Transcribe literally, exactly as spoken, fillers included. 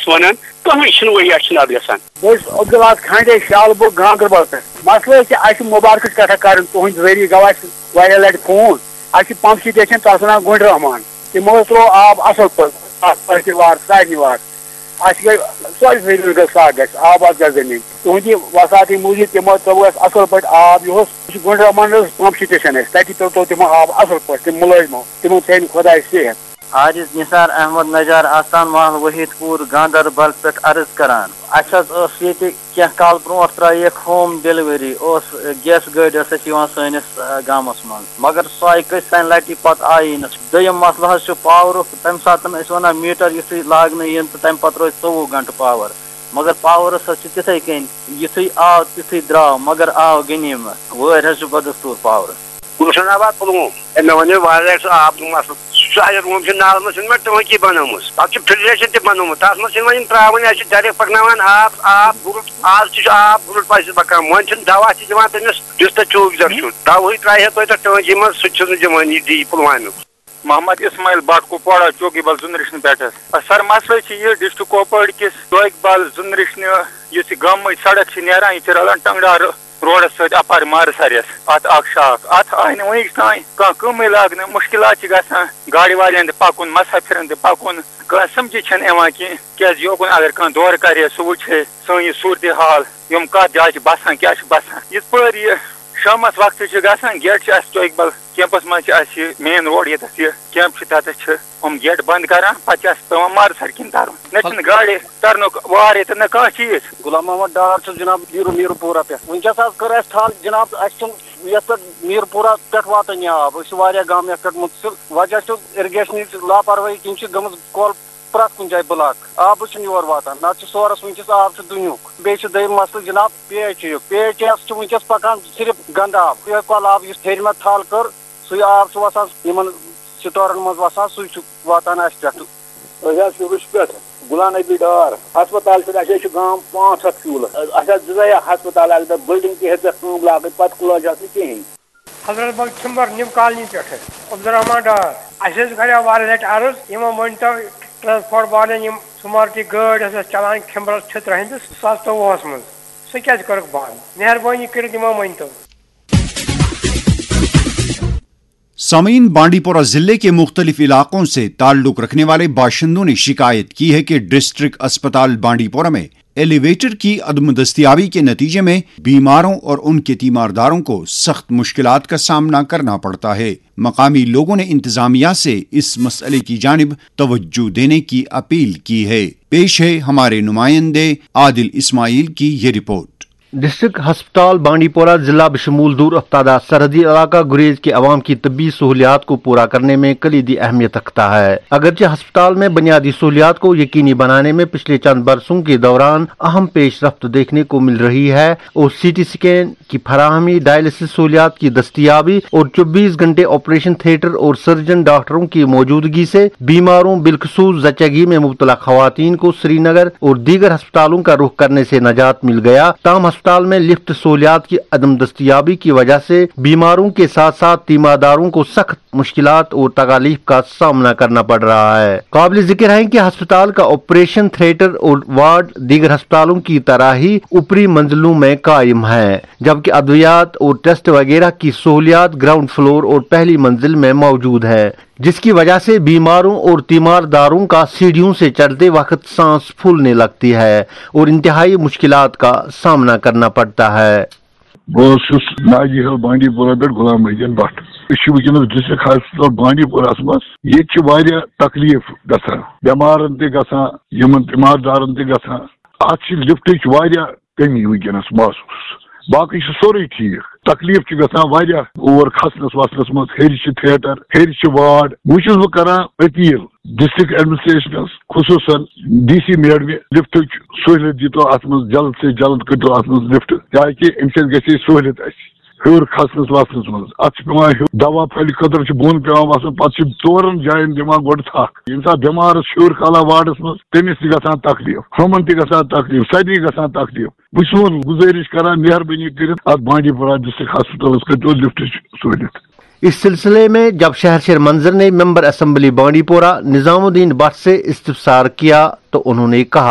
ونان، کٕہٕنۍ چھُنہٕ وۄنۍ اَسہِ چھُنہٕ اَتھ گژھان۔ بہٕ چھُس عبداللہ کھنڈے شالبُگ گاندربل پٮ۪ٹھ۔ مسلہٕ حظ چھِ، اَسہِ چھِ مُبارکٕچ کَتھا کَرٕنۍ، تُہٕنٛدِ ذٔریعہٕ گوٚو اَسہِ واریاہ لَٹہِ فون۔ اَسہِ چھِ پمپ سٹیشن، تَتھ وَنان گُنڈ رحمان، تِمو حظ ترٛوو آب اَصٕل پٲٹھۍ، اَتھ پٲٹھۍ وار، سارنٕے وار۔ اَسہِ گٔے سۄے زٔمیٖن گٔے سۄ گژھِ آباد گژھِ زٔمیٖن۔ تُہٕنٛدِ وساطی موٗجوٗب تِمو ترٛوو اَسہِ اَصٕل پٲٹھۍ آب یُہُس۔ یہِ چھُ گُنڈ رحمان حظ پمپ سٹیشن اَسہِ، تَتی ترٛوو تِمو آب اَصٕل پٲٹھۍ، تِم مُلٲزمو، تِمن تھٲیِن خۄداے صحت۔ عارض نثار احمد نجار، آستان محل وحید پور، گاندربل پٮ۪ٹھ عرض کران۔ اَسہِ حظ ٲس ییٚتہِ کینٛہہ کال برونٛٹھ ترٛاییکھ ہوم ڈیلیوری، اوس گیس گٲڑۍ ٲس اَسہِ یِوان سٲنِس، آ، گامَس منٛز، مگر سۄ آیہِ کٔژِ تانۍ لَٹہِ، پَتہٕ آیی نہٕ۔ دوٚیِم مسلہٕ حظ چھُ پاورُک، تَمہِ ساتہٕ ٲسۍ وَنان میٖٹر یُتھُے لاگنہٕ یِن تہٕ تَمہِ پَتہٕ روزِ ژوٚوُہ گھنٹہٕ پاور، مگر پاورَس حظ چھِ تِتھَے کٔنۍ، یُتھُے آو تیُتھُے درٛاو، مگر آو غنیٖمت۔ وٲرۍ حظ چھِ بدستوٗر پاورَس۔ گُلشن آباد پُلووم۔ ہے، مےٚ وَنیو واریاہ سُہ آبُک مسلہٕ۔ سُہ اَسہِ روٗم چھِ نالَس منٛز، چھِنہٕ مےٚ ٹٲنٛکی بَنٲومٕژ۔ تَتھ چھُ فِلٹریشَن تہِ بَنومُت۔ تَتھ منٛز چھِنہٕ وۄنۍ یِم ترٛاوان، اَسہِ چھِ ڈایریکٹ پَکناوان آب، آب گُرُٹ۔ آز تہِ چھُ آب گُرُٹ پَزِ پَکان۔ وۄنۍ چھِنہٕ دَوا تہِ دِوان تٔمِس، یُس تۄہہِ چوٗک زَر چھُ۔ دَوہٕے ترٛایہِ ہے توتہِ تَتھ ٹٲنٛکی منٛز، سُہ تہِ چھُنہٕ دِوان یہِ ڈی پُلوامیُک۔ محمد اسماعیل بٹ کپواڑہ چوکی بل زُنرِشنہِ پٮ۪ٹھ۔ سر، مسلہٕ چھُ یہِ، ڈسٹرکٹ کپوٲڑۍ کِس چوکی بل زُنرِشنہِ یُس یہِ گامٕچ سڑک چھِ نیران، یہِ چھِ رلان ٹنگڑار روڈس سۭتۍ اپارِ مارٕ سریس۔ اتھ اکھ شاخ، اتھ آیہِ نہٕ وُنیُک تام کانٛہہ کٲمٕے لاگنہٕ۔ مُشکلات چھِ گژھان گاڑِ والٮ۪ن تہِ پکُن، مسافرن تہِ پکُن۔ کانٛہہ سمجھی چھَنہٕ یِوان کینٛہہ، کیازِ یوکُن اگر کانٛہہ دورٕ کرِ، سُہ وٕچھِ سٲنۍ یہِ صورتحال، یِم کتھ جایہِ چھِ بسان، کیٛاہ چھِ بسان۔ یِتھ پٲٹھۍ یہِ شامس وقتہٕ چھِ گژھان، گیٹ چھِ اَسہِ چوکہِ بل کیمپس منٛز چھِ اَسہِ یہِ مین روڈ، ییٚتٮ۪تھ یہِ کیمپ چھُ، تَتٮ۪تھ چھِ یِم گیٹ بند کران، پتہٕ چھِ اَسہِ پٮ۪وان مارٕ سر کِنۍ ترُن۔ نہ چھِنہٕ گاڑِ ترنُک وار ییٚتٮ۪تھ، نہ کانٛہہ چیٖز۔ غلام محمد ڈار چھُس جناب میٖر، میٖرپوٗرہ پٮ۪ٹھ۔ وٕنکیٚس حظ کٔر اَسہِ ٹھل جناب، اَسہِ چھُنہٕ یَتھ پٮ۪ٹھ میٖرپوٗرہ پٮ۪ٹھ واتٲنی آب۔ أسۍ چھِ واریاہ گام یَتھ پٮ۪ٹھ مُنتقل۔ وجہ چھُ irrigation ہٕچ لاپروٲہی کِنۍ چھِ گٔمٕژ کۄل پرٛٮ۪تھ کُنہِ جایہِ بٕلاک۔ آبٕے چھُنہٕ یور واتان، نَتہٕ چھُ سورس وٕنکیٚس آب چھُ دُنیُک۔ بیٚیہِ چھُ دوٚیِم مسلہٕ جناب، پی ایچ ایُک۔ پی ایچ ایَس چھُ وٕنکیٚس پکان صرف گنٛدٕ آب۔ یِہوٚے کۄلہٕ آب یُس ہیٚرِ مےٚ تھل کٔر، سُے آب چھُ وَسان یِمن سٹورن منٛز وَسان، سُے چھُ واتان اَسہِ پٮ۪ٹھ۔ أسۍ حظ چھِ رُشہِ پٮ۪ٹھ، غلام نبی ڈار۔ ہسپتال چھُ، اَسہِ حظ چھُ گام پانٛژھ ہَتھ کیوٗلہٕ۔ اَسہِ حظ دِژے یہِ ہسپتال اَکہِ دۄہ، بلڈنگ تہِ ہیٚژ اَتھ کٲم لاگٕنۍ، پتہٕ کُلٲج اَتھ نہٕ کِہیٖنۍ۔ حضرت بل کھمبر نیو کالنی پٮ۪ٹھ عبدالرحمان ڈار۔ اَسہِ حظ کریو واریاہ لٹہِ عرض، یِمو مٲنۍ تو ٹرانسپورٹ والٮ۪ن، یِم سمارٹی گٲڑۍ ٲس اَسہِ چلاوان کھمبرس چھترٕ ہٕنٛدِس، زٕ ساس ژوٚوُہس منٛز، سُہ کیازِ کٔرٕکھ بنٛد؟ مہربٲنی کٔرِتھ یِمو مٲنۍ تو۔ سامعین، بانڈی پورہ ضلع کے مختلف علاقوں سے تعلق رکھنے والے باشندوں نے شکایت کی ہے کہ ڈسٹرکٹ اسپتال بانڈی پورہ میں ایلیویٹر کی عدم دستیابی کے نتیجے میں بیماروں اور ان کے تیمارداروں کو سخت مشکلات کا سامنا کرنا پڑتا ہے۔ مقامی لوگوں نے انتظامیہ سے اس مسئلے کی جانب توجہ دینے کی اپیل کی ہے۔ پیش ہے ہمارے نمائندے عادل اسماعیل کی یہ رپورٹ۔ ڈسٹرکٹ ہسپتال بانڈی پورہ ضلع بشمول دور افتادہ سرحدی علاقہ گریز کے عوام کی طبی سہولیات کو پورا کرنے میں کلیدی اہمیت رکھتا ہے۔ اگرچہ ہسپتال میں بنیادی سہولیات کو یقینی بنانے میں پچھلے چند برسوں کے دوران اہم پیش رفت دیکھنے کو مل رہی ہے اور سی ٹی اسکین کی فراہمی، ڈائلسس سہولیات کی دستیابی اور چوبیس گھنٹے آپریشن تھیٹر اور سرجن ڈاکٹروں کی موجودگی سے بیماروں، بالخصوص زچگی میں مبتلا خواتین کو سری نگر اور دیگر ہسپتالوں کا رخ کرنے سے نجات مل گیا، تاہم ہسپتال میں لفٹ سہولیات کی عدم دستیابی کی وجہ سے بیماروں کے ساتھ ساتھ تیمارداروں کو سخت مشکلات اور تکالیف کا سامنا کرنا پڑ رہا ہے۔ قابل ذکر ہے کہ ہسپتال کا آپریشن تھیٹر اور وارڈ دیگر ہسپتالوں کی طرح ہی اوپری منزلوں میں قائم ہے، جبکہ ادویات اور ٹیسٹ وغیرہ کی سہولیات گراؤنڈ فلور اور پہلی منزل میں موجود ہے، جس کی وجہ سے بیماروں اور تیمار داروں کا سیڑھیوں سے چڑھتے وقت سانس پھولنے لگتی ہے اور انتہائی مشکلات کا سامنا کرنا پڑتا ہے۔ بہٕ اوسُس ناجی ہل بانڈی پورہ پٮ۪ٹھ غلام محی الدین بٹ۔ أسۍ چھِ وٕنکیٚنَس ڈسٹرکٹ ہاسپٹل بانڈی پورہس منٛز۔ ییٚتہِ چھِ واریاہ تکلیف گژھان، بٮ۪مارن تہِ گژھان، یِمن تیمار دارن تہِ گژھان۔ اتھ چھِ لفٹٕچ واریاہ کمی وٕنکیٚنَس محسوٗس۔ باقٕے چھُ سورُے ٹھیٖک۔ تکلیف چھُ گژھان واریاہ اور کھسنس وسنس منٛز۔ ہیٚرِ چھِ تھیٹر، ہیٚرِ چھِ وارڈ۔ وۄنۍ چھُس بہٕ کران اپیل ڈسٹرکٹ ایڈمنسٹریشنس، خصوصاً ڈی سی میڈمہِ، لفٹٕچ سہوٗلیت دیٖتو اتھ منٛز، جلد سے جلد کٔرۍتو اتھ منٛز لفٹ، تاکہِ امہِ سۭتۍ گژھِ ہے سہوٗلیت اسہِ ہیوٚر کھسنس وسنس منٛز۔ اتھ چھُ پٮ۪وان ہیوٚر دوا پھلہِ خٲطرٕ چھُ بۄن پٮ۪وان وسُن، پتہٕ چھِ ژورن جاین دِوان گۄڈٕ تھکھ۔ ییٚمہِ ساتہٕ بٮ۪مارس ہیوٚر کھالان وارڈس منٛز، تٔمِس تہِ گژھان تکلیف، ہُمن تہِ گژھان تکلیف، سارنٕے گژھان تکلیف۔ بہٕ چھُس وۄنۍ گُزٲرِش کران، مہربٲنی کٔرِتھ اتھ بانڈی پورہ ڈسٹرکٹ ہاسپٹلس کٔرۍتو لفٹٕچ سہوٗلیت۔ اس سلسلے میں جب شہر شیر منظر نے ممبر اسمبلی بانڈی پورہ نظام الدین بٹ سے استفسار کیا تو انہوں نے کہا۔